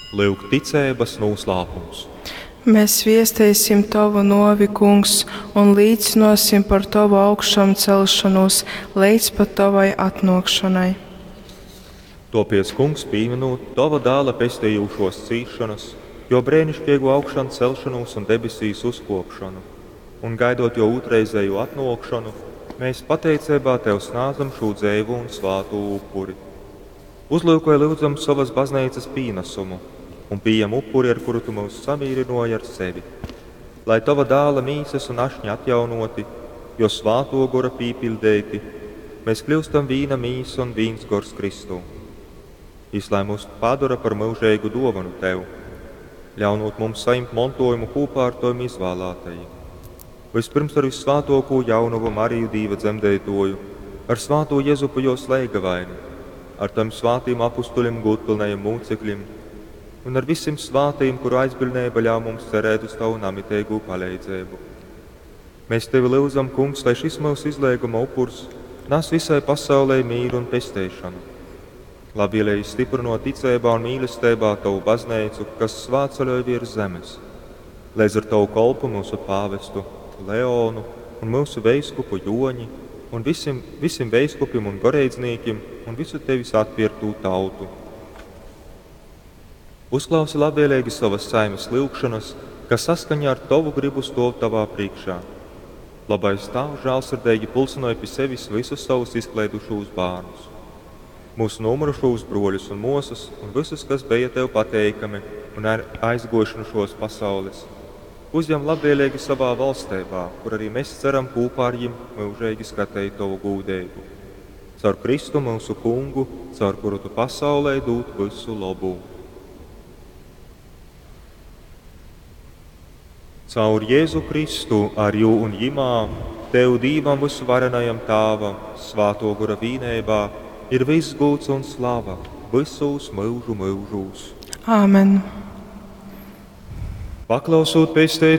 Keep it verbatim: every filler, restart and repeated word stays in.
Lyuk ticeibas nūslāpums. Mēs viesteisim Tovu nuovi, Kungs, un līcynuosim par Tovu augšamceļšonūs leidz pat Tovai atnuokšonai. Tuopiec, Kungs, pīminūt Tova Dāla pestejūšuos cīsšonas, Juo breiniškeigū augšancelšonūs un debesīs uzkuopšonu, un gaidot Juo ūtrreizejū atnuokšonu, mēs pateiceibā Tev snādzam šū dzeivū un svātū upuri. Uzlyukoj, lyudzam, sovas bazneicas pīnasumu un pījem upuri, ar kuru Tu myus samīrynuoji ar sevi. Lai Tova Dāla mīsas un ašņa atjaunoti, Juo Svātuo Gora pīpiļdeiti, mēs kļiustam vīna mīsa un vīns gors Kristū. Jis lai mūs padora par myužeigu duovonu Tev, ļaunūt mums sajimt montuojumu kūpā ar Tovim izvālātajim. Vyspyrms ar Vyssvātuokū jaunovu Mariju Dīva dzemdeituoju, ar svātū Jezupu juos leigavaini, ar Tovim svātim apustuļim, gūdpylnajim mūcekļim un ar vysim svātajim, kuru aizbiļdneiba ļauj mums cerēt uz Tavu namiteigū paleidzeibu. Mēs Tevi lyudzam, Kungs, lai šis myusu izleiguma upurs nas visai pasaulei mīru un pesteišonu. Labvēlīgi stiprinot ticeibā un mīlestībā Tavu baznīcu, kas svētceļoj virs zemes. Līdz ar Tavu kolpu mūsu pāvestu Leonu un mūsu veiskupu Joņi un visim, visim veiskupim un goreidznīkim un visu Tevis atpirktū tautu. Uzklausi labvēlīgi savas saimes lyugšanas, kas saskaņā ar Tavu gribu stuov Tavā priekšā. Labais Tāvs žālsirdeigi pulcināja pie sevis visus savus izkleidušos bērnus, mūsu nomirušos bruoļus un muosas, un visus, kas bija Tev pateikami un ar aizguojuši no šos pasaules. Uzņem labvēlīgi savā valstībā, kur arī mēs ceram kopā ar viņiem mūžīgi skatīt Tavu gūdību. Caur Kristu mūsu Kungu, caur kuru Tu pasaulē dod visu labu. Caur Jēzu Kristu, ar jū un jimā, Tev Dīvam vysuvarenajam Tāvam, Svāto Gora vīneibā, ir viss gūds un slava visos myužu myužūs. Āmen. Paklausūt pesteit